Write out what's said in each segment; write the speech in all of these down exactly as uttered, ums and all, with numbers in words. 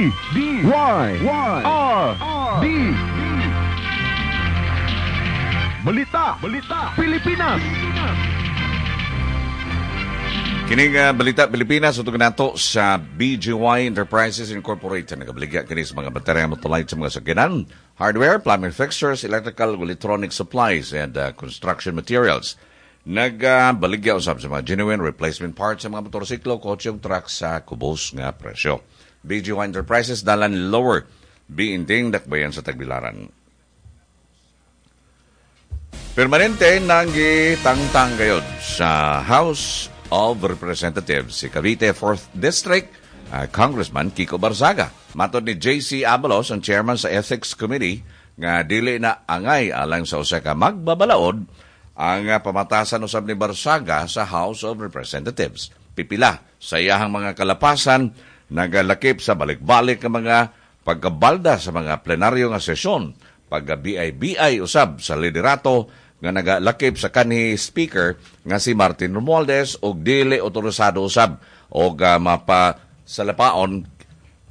D D Y Y R D. Balita, Balita, Pilipinas. Kining uh, Balita Pilipinas ug nato sa B G Y Enterprises Incorporated. Nagabaligya kini sa mga baterya, motolite sa mga sakyanan, hardware, plumbing fixtures, electrical, electronic supplies and uh, construction materials. Nagabaligya usab sa mga genuine replacement parts sa mga motorsiklo, kotse ug truck sa kubos nga presyo. B G Y Enterprises, Dalan Lower B. Inting, Dakbayan sa Tagbilaran. Permanente nang gitangtang gayod sa House of Representatives si Cavite fourth District uh, Congressman Kiko Barzaga. Matod ni J C. Abalos, ang chairman sa Ethics Committee, nga dili na angay alang sa usa ka magbabalaod ang uh, pamatasan usab ni Barzaga sa House of Representatives. Pipila sa iyahang mga kalapasan nagalakip sa balik-balik nga mga pagkabalda sa mga plenaryo nga sesyon, pagka B I B I usab sa liderato nga nagalakip sa kanhi speaker nga si Martin Romualdez og dili otorisado usab og uh, mapasalapaon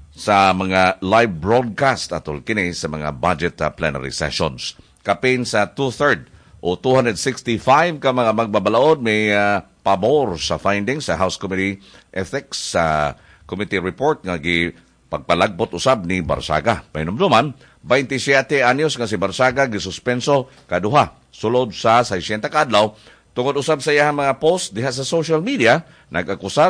sa mga live broadcast atol kini sa mga budget uh, plenary sessions. Kapin sa two-third o two hundred sixty-five ka mga magbabalaod may uh, pabor sa findings sa House Committee Ethics sa uh, Committee report nga gi pagpalagbot usab ni Barzaga. Pahinumduman, twenty-seven anyos nga si Barzaga gisuspenso kaduha sulod sa six hundred ka adlaw tungod usab sa iyang mga post diha sa social media nag-akusar